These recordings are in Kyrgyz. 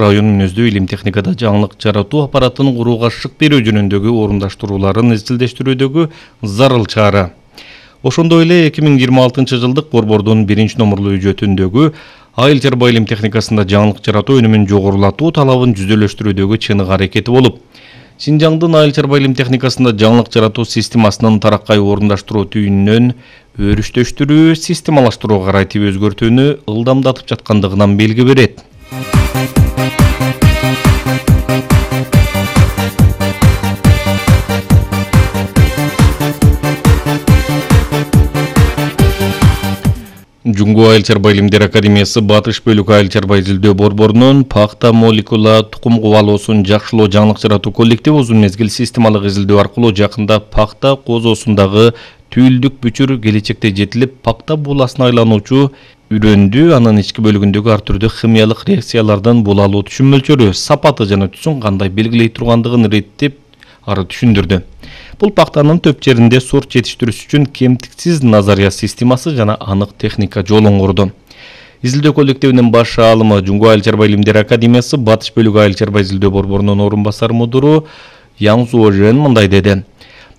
Район мүнөздүү илим техникада жаңылык жаратуу аппаратын курууга шык берүү жөнүндөгү орундаштырууларын изилдештирүүдөгү зарыл чара. Ошондой эле 2026 жылдык борбордун 1-номурлуу үжөтүндөгү айыл чарба илим техникасында жаңылык жаратуу өнүмүн жогорулатуу талабын жүзөлөштүрүүдөгү чыныгы аракети болуп, Синжаңдын айыл чарба илим техникасында жаңылык жаратуу системасынын тараккай орундаштыруу түйүнүнөн өрүштөштүрүү, системалаштыруу карайтып өзгөртүүнү ылдамдатып жаткандыгынан белги берет. Жуңгу айыл чарба илимдер академиясы Батыш бөлүк айыл чарба изилдөө борборунун пахта молекула тукум кубалоосун жакшылоо жаңылык жаратуу коллективи узун мезгил системалык изилдөө аркылуу жакында пахта козоосундагы түйүлдүк бүчүр келечекте жетилип пахта бууласына айлануучу үрөндү анын ички бөлүгүндөгү ар түрдүү химиялык реакциялардын булалуу түшүм мөлчөрү, сапаты жана түсүн кандай белгилей тургандыгын иреттеп ары түшүндүрдү. Бул пахтанын төп жеринде сорт жетиштирүү үчүн кемтиксиз назария системасы жана анык техника жолун курду. Изилдөө коллективинин баш аалымы Жуңгу айыл чарба илимдер академиясы Батыш бөлүк айыл чарба изилдөө борборунун орун басар мудуру Яң Суожен мындай деди.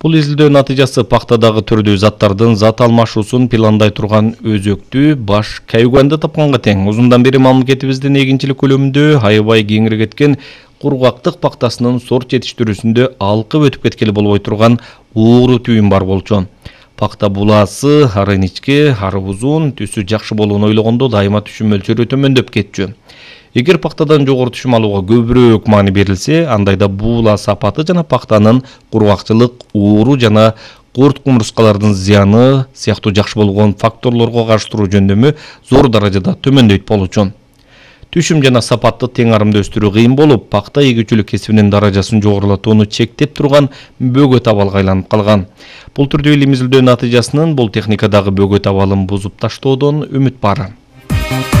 Бул изилдөө натыйжасы пахтадагы түрдүү заттардын зат алмашуусун пландай турган өзөктүү баш кайгуанды тапканга тең. Узундан бери мамлекетибиздин эгинчилик көлөмүндө аябай кеңири кеткен кургактык пахтасынын сорт жетиштирүүсүндө алкып өтүп кеткели болбой турган ууру түйүн бар болчу. Пахта булаасы ары иничке, ары узун, түсү жакшы болууну ойлогондо дайыма түшүм мөлчөрү төмөндөп кетчү. Эгер пахтадан жогору түшүм алууга көбүрөөк маани берилсе, андайда буула сапаты жана пахтанын кургакчылык, ууру жана курт кумурскалардын зыяны сыяктуу жакшы болгон факторлорго каршы туруу жөндөмү зор даражада төмөндөйт болчу. Түшүм жана сапатты тең арымда өстүрүү кыйын болуп, пахта эгүүчүлүк кесибинин даражасын жогорулатууну чектеп турган бөгөт абалга айланып калган. Бул түрдүү илим изилдөө натыйжасынын бул техникадагы бөгөт абалын бузуп таштоодон үмүт бар.